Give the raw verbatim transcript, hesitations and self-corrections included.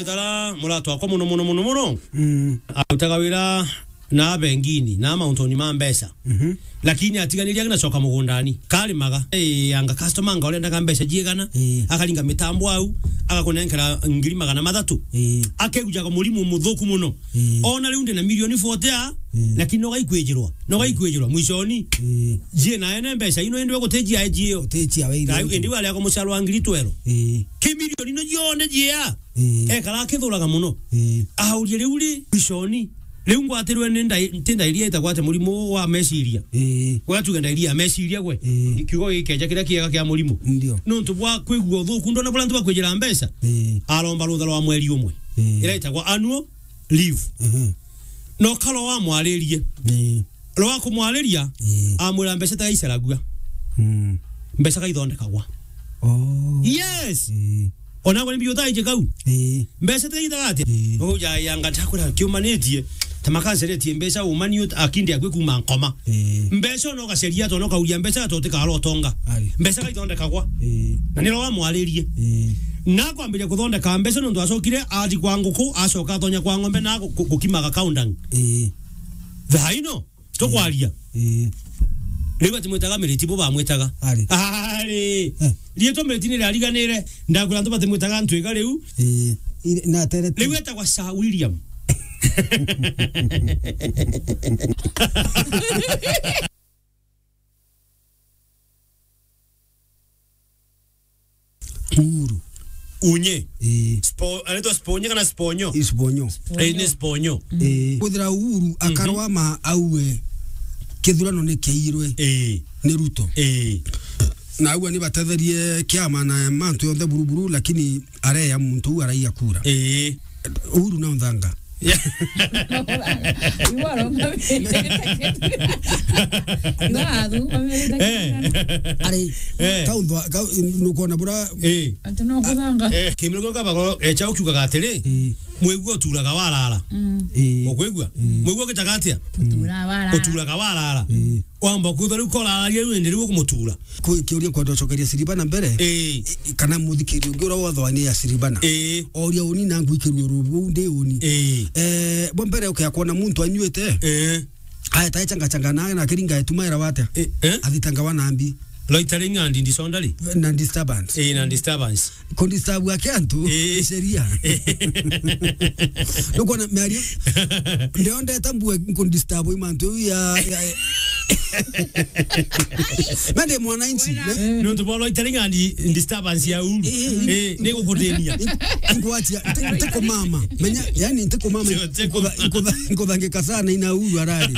Tara muratwa akwa muno, muno, muno, muno. Mm. Arutaga wira na bengini, na mauntoni ma mbeca. Mhm. Lakini atiganirie aginacoka mugundani. Karimaga. Eh, anga customer anga urendaga mbeca ciigana. Eh. Akaringa mitambo au, agakunenkera ngiri magana mathatu. Eh. Akegujaga murimu muthuku muno. Eh. Ona riu ndi na milioni forty a, eh, lakini no gaikwijirwa. No gaikwijirwa. Mwishoni. Eh. Jie na ene mbeca ino indi we gutijia ejio. Gutijia we iri. Indi wale ako mucaro wa ngiri twero. Eh. Ki milioni no jionde jia. Ii. Ekara akithuraga muno. Ii. Aurie riu ri, mwishoni. Riu ngwatirwe ni ndai-, nti ndairia itagwate murimu wa meciria. Ii. Ugatuga ndairia ya meciria gwe. Ii. Kiugo gikeja kiria kiega kia murimu. Ndio. Nontu bwa kwigua uthuku, ndona buria antu bakwijira mbeca. Ii. Aromba rutha rwa mweri umwe. Ii. Ira itagwa annual leave. Mhm. No karo wamwaririe. Ii. Rwa kumwariria, ii, amwira mbeca tiga iceragua. Mm. Mbeca gaithondekagwa. Oh. Yes. Ii. Ona gwe ni mbio ta ije kau. Ii. Mbeca tiga ithaga atia? Ii. Uja yanga ntakwira kiumanitie. Ta makanceretie mbeca umani akindi akwi kuma nkoma. Ii. Mbeca no gaceria to no kauria mbeca to tikaro tonga. Ari. Mbeca gaithondekagwa. Ii. Na niro wamwaririe. Ii. Na kwambiria kuthondeka mbeca nontu acokire athi kwa nguku, acoka atonya kwa ng'ombe na gu-, gu-, gukimaga kaundang. Ii. Thaa ino, tukwaria. Ii. Riu batimwitaga Miriti, bo bamwitaga. Ari. Ari. Eh. Riitwa Miriti ni riariganire, ndakwira antu batimwitaga Ntwiga riu. Ii. Ii, na aterete. Riu etagwa Sir William. Uhuru. Unye. Ii. Spo-, anaitwa Sponye kana Sponyo? Ii, Sponyo. Ii, ni Sponyo. Ii. Kwithira Uhuru, mhm, akarwa ma auwe kithurano ni kiairwe, ii, ni Ruto. Ii. Na auwe ni batetherie kiama na mantu yonthe buruburu, lakini areya muntu uu araiya kura. Ii. Uhuru na unthanga. Iwaro mami. Iwaro mami. Eh. Ari, eh, kaunthwa, ka-, nukona bura. Eh. Ati no kuthanga. Eh, kimiro kio kabagoro, eh, chao kiugaga atiri, eh, mwigua uturaga warara. Mm. Eh. Ukwigua? Mm. Mwigua gitaga atia? Utura warara. Uturaga warara. Eh. Wamba kwithwa riu koraragia riu indi riu ukumutura. Ku-, kiuria kwenda ucokeria Siribana mbere. Ii. I-, i-, kana muthikiri ungi uria wothe wani ya Siribana. Ii. Oria uni na ngwikirua rubu ndi uni. Ii. Eh, bo mbere ukia kwona muntu anyuite. Ii. Aeta changa changa na, na kiringa etumaira wate. Ii, eh? Athitanga wa nambi. Loitering and disorderly. Na disturbance. Ii, na disturbance. Kundisturb ake antu, ii, ni sheria. Nukona miario, ndio ndeta mbue nkundisturb imantu ya, ya, mende mwananchi, ne? Nontu bwa loitering and disturbance ya uru. Ii, ii, ii, ni gukuthinia. Ingwatia, nti-, ntikumama. Menya, yani ntikumama. Ntiku-, nkuthangika sana ina uru arari.